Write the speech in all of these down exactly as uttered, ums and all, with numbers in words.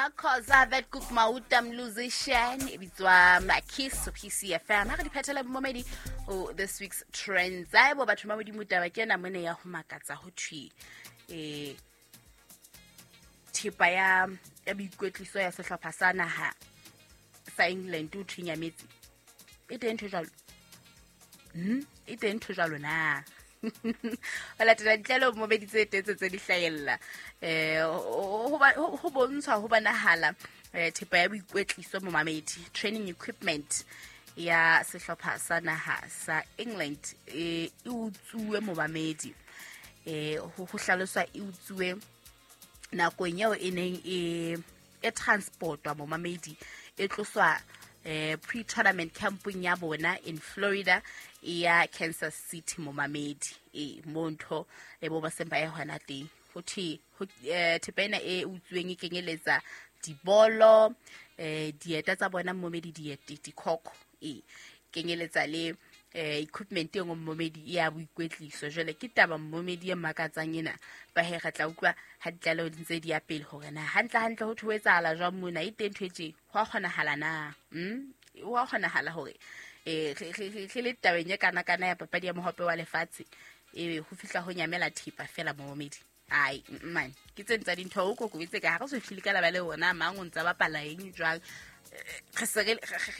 Makhoza Vet Cook Mauta musician e bitswa Makis P C F M. Ha re di phethela momedi o this week's trends. Ai bo batho ba modimo taba ke ena mone ya ho makatsa ho thwi. Eh thepa ya ya boikwetliso ya sehlopha sa naha sa England o thwi nyametse. E teng ntho jwalo. Hmm, e teng ntho jwalo na. Ho latela ditlaleho momedi tse tetse tse di hlahella. Eh ho ho bontshwa ho bonahala thepa ya boikwetliso momamedi training equipment ya sehlopha sa naha sa England e utsuwe momamedi. Eh ho hlaloswa e utsuwe nakong eo e neng e e transportwa momamedi e tloswa eh pre-tournament camping ya bona in Florida ya Kansas City momamedi e mo ntho e bo ba semba ya hona teng ho thwe thepa ena e utsuweng e kenyeletsa dibolo eh dieta tsa bona momedi diete dikhokho e kenyeletsa le eh equipment e nngwe momedi ya boikwetliso. Jwale ke taba momedi e makatsang ena ba he re tla utlwa ha ditlaleho di ntse di ya pele hore na hantle hantle ho thwe etsahala jwang mona e teng ntho e tje ho a kgonahala na mm ho a kgonahala hore eh re le tabeng e kana kana ya papadi ya mohope wa lefatshe e ho fihla ho nyamela thepa fela momedi. Ai man ke tse ntsa dintho o kokobetse ka ha re so fihlile ka laba le ona mang o ntsa bapala eng jwang re se re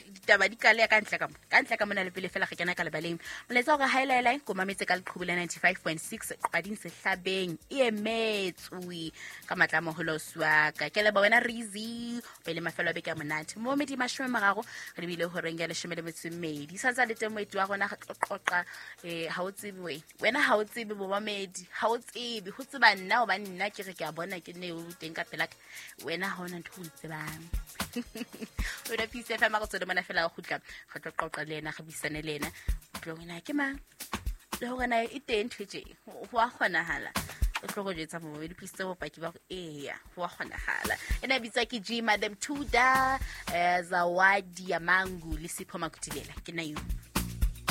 ditaba di kale ka ntle ka mo ka ntle ka mona le pele fela re kena ka lebaleng molaetsa hore highlight ko mametse ka leqhubu la ninety-five point six qading sehlabeng e emetswe ka matla moholo swaka ke leba wena Rizi pele mafelo a beke a monate mo medi mashome mararo re bile ho reng ya leshome le metso e mmedi sa le teng moeti wa rona re tlo qoqa eh ha o tsebe wena wena ha o tsebe bo mamedi ha o tsebe ho tseba nna o ba nna ke re ke a bona ke ne o teng ka pela wena ha ona ntho o tsebang wena P C F M go tswela mona fela go gutla re tlo qoqa le yena re buisane le yena tlo wena ke mang le hore na e teng ntho tje ho a kgonahala o tlo go jetsa mo di please tse bopaki ba go eya ho a kgonahala ena bitsa ke G Madam Tuda eh Zawadi ya Mangu le Sipho Makutilela ke na you.